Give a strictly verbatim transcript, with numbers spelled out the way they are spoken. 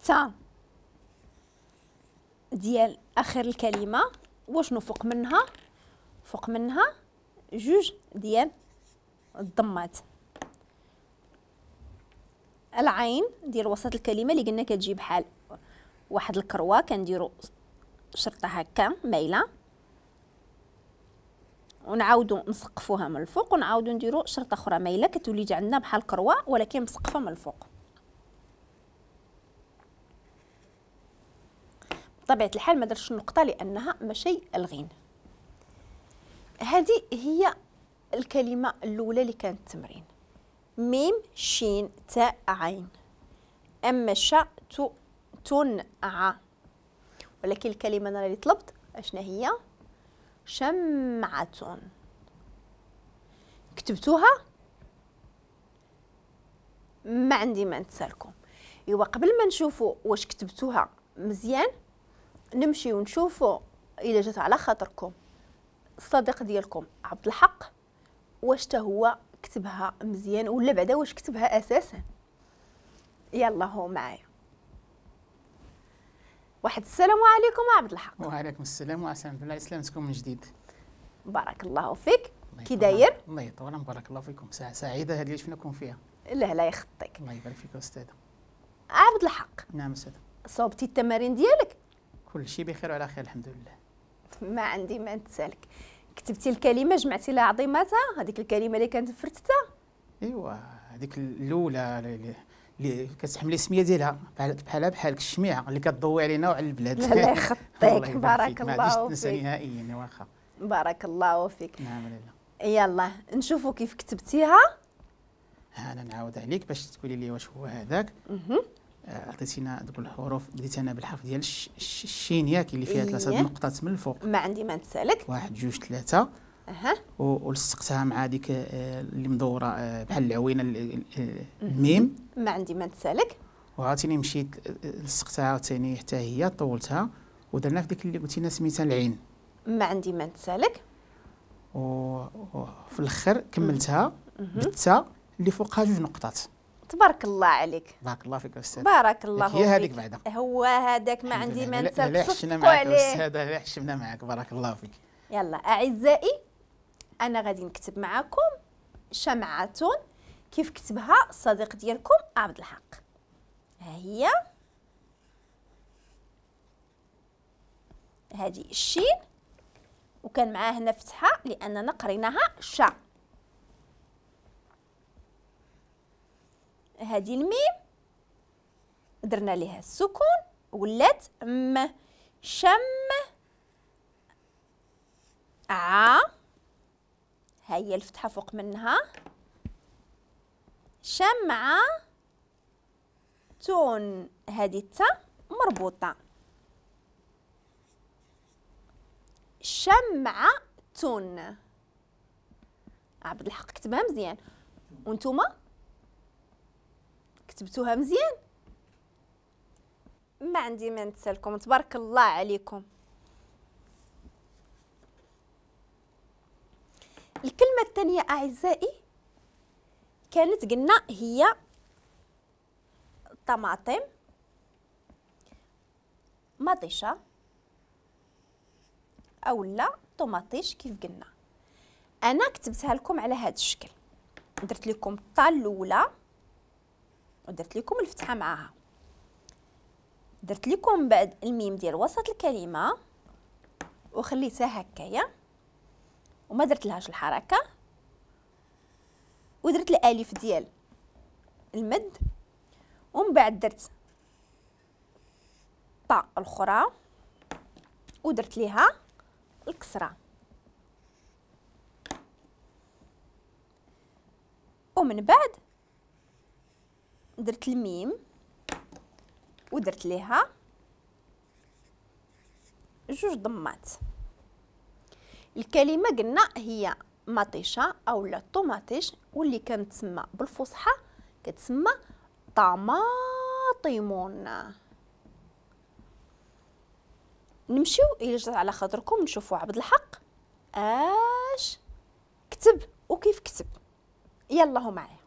التاء ديال اخر الكلمة، وشنو فوق منها؟ فوق منها جوج ديال الضمات. العين ديال وسط الكلمة اللي قلنا كتجي بحال واحد الكروه، كنديروا شرطه هكا مايلة ونعاودو نسقفوها من الفوق، ونعاودو نديرو شرطه اخرى مايلة، كتولي عندنا بحال كروه ولكن مسقفه من الفوق. بطبيعة الحال ما درتش النقطة لانها ماشي الغين. هذه هي الكلمة الاولى اللي كانت التمرين، ميم شين تاء عين. اما شا تو تون ع، ولكن الكلمة انا اللي طلبت اشنا هي؟ شمعة. كتبتوها؟ ما عندي ما نتسالكم. ايوا قبل ما نشوفوا واش كتبتوها مزيان، نمشيو نشوفوا الا جات على خاطركم الصديق ديالكم عبد الحق واش تا هو كتبها مزيان ولا بعدا واش كتبها اساسا. يلا هو معايا. واحد السلام عليكم عبد الحق. وعليكم السلام وعسى الله يسلمكم من جديد. بارك الله فيك. كي داير؟ الله يطول، بارك الله فيكم. ساعة سعيدة هذه اللي شفناكم فيها. لا لا يخطيك. الله يبارك فيك أستاذة. عبد الحق. نعم أستاذة. صوبتي التمارين ديالك؟ كل شيء بخير وعلى خير الحمد لله. ما عندي ما نتسالك. كتبتي الكلمة جمعتي لها عظيماتها، هذيك الكلمة اللي كانت فرتتها؟ ايوا هذيك الأولى اللي اللي كتحملي السمية ديالها بحال بحالها بحال الشميعه اللي كتضوي علينا وعلى البلاد. لا لا يخطيك. بارك الله فيك. ما نهائيا. واخا بارك الله فيك. نعم لاله. يلا نشوفوا كيف كتبتيها. ها انا نعاود عليك باش تقولي لي واش هو هذاك. عطيتينا دوك الحروف، بديت انا بالحرف ديال الشين ياك اللي فيها ثلاثة النقطات من الفوق. ما عندي ما نتسالك. واحد جوج ثلاثة. اها. ولصقتها مع ديك اللي مدورة بحال العوينة الميم. ما عندي ما نتسالك. وعاوتاني مشيت لصقتها عاوتاني حتى هي طولتها ودرنا في ديك اللي قلتي لنا سميتها العين. ما عندي ما نتسالك. وفي الاخر كملتها بالتاء اللي فوقها جوج نقطات. تبارك الله عليك. بارك الله فيك استاذ. بارك الله فيك. هي هذيك بعدا. هو هذاك ما عندي ما نتسالك. لا حشمنا معاك استاذ، لا حشمنا معاك. بارك الله فيك. يلا اعزائي انا غادي نكتب معاكم شمعة كيف كتبها الصديق ديالكم عبد الحق. ها هي هذه الشين، وكان معاه هنا فتحة لأننا قريناها شا. هذه الميم درنا لها السكون ولات م. شم ع، هي الفتحة فوق منها، شمعة تون، هذه التاء مربوطة، شمعة تون. عبد الحق كتبها مزيان، وانتوما كتبتوها مزيان؟ ما عندي ما نتسالكم. تبارك الله عليكم. الكلمة الثانية أعزائي كانت قلنا هي طماطم مطيشة أو لا طوماطيش كيف قلنا. أنا كتبتها لكم على هذا الشكل، درت لكم الطا الأولى ودرت لكم الفتحة معاها، درت لكم بعد الميم ديال وسط الكلمة وخليتها هكايا وما درت لهاش الحركة، ودرت الالف ديال المد، ومن بعد درت طا الاخرى ودرت ليها الكسرة، ومن بعد درت الميم ودرت ليها جوج ضمات. الكلمة قلنا هي مطيشه او لا طوماطيش، واللي كنتسمى بالفصحى كتسمى طماطمون. نمشيو الى جات على خاطركم نشوفوا عبد الحق اش كتب وكيف كتب. يلا هو معايا.